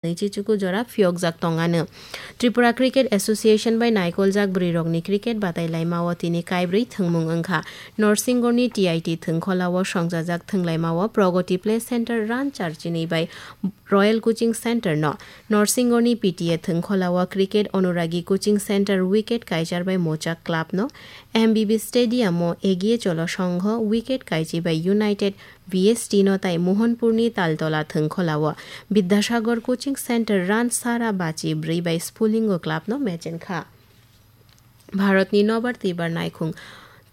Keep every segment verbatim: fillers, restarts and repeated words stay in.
nwi chichuku jora phiyokjak tongano. Tripura Cricket Association bai naikoljak bwrwirokni cricket batai laimao tini kaibrwi thwngmung wngkha. Norsingorni T I T thwngkholao songchajak thwnglaimao Pragati Play Center Ranchar chinwi bai Royal Coaching Center no, Norsingorni P T A thwngkholao Cricket Anuragi Coaching Center wicket kaichar bai Mochak Club no, M B B Stadium o Egiye Cholo Songho wicket kaichi bai United V S T no tai Mohanpurni Taltola thwngkholao Bidyasagar Coaching Center Ran Sara Bachi bwrwi bai Spulingo Club no match wngkha. Bharatni nobar twibar naikhung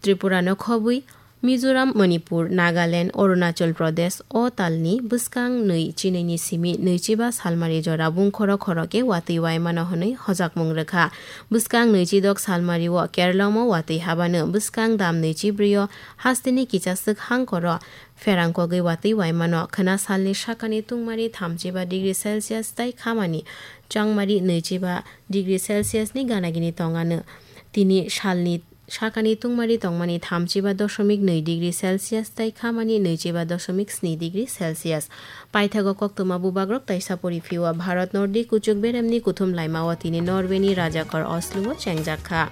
Tripura no khobwi Mizoram, Manipur, Nagaland, Arunachal Pradesh o talni bwskang nwi chinwini simi nwichiba salmari jora bungkhoro khorokhe watwi waimano hwnwi hojakmung rwkha. Bwskang nwichidok salmario Keralamo watwi habano bwskang dam nwichibrwi o hasteni kichaswk hangkoro pherang kogwi watwi waimano khwna salni sakani tungmari thamchiba degree Celsius tei khamani changmari nwichiba degree Celsius ni ganagini tongano. Tini salni sakani tungmari tongmani thamchiba dosomik nwi degree Celsius tei khamani nwichiba dosomik sni degree Celsius. Paithago koktwma bubagrok taisa pori phiyua Bharat Nordi kuchuk beremni kuthum laimao tini Norway ni rajakor Oslo o chengjak kha.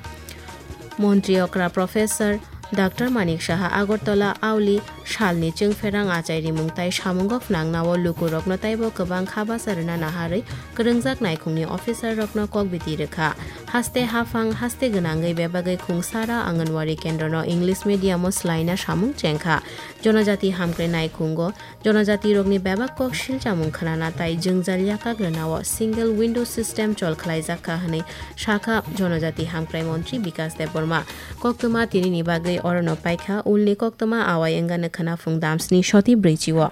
Montri okra Professor Doctor Manik Saha Agartala auli salni chwngpherang achai rimung tai samungo phnangnao lukurokno taibo kwbang kha bacha rwna naharwi kwrwngjak naikhungni officer rokno kok biti rwkha. Haste haphang haste gwnangwi bebagwi khungsara Anganwadi kendrono English medium o swlaina samung chengkha. Jonojati hamkrai naikhungo Jonojatirokni bebak kok silchamung khwnana tai jwngjal yakak rwnao single window system chol khlaijak kha hwnwi sakha Jonojati Hamkrai Montri Bikas Debbarma. Koktwma tinini bagwi orono paikha ulni koktwma awai wngano khwnaphung damsni soti brwichi o.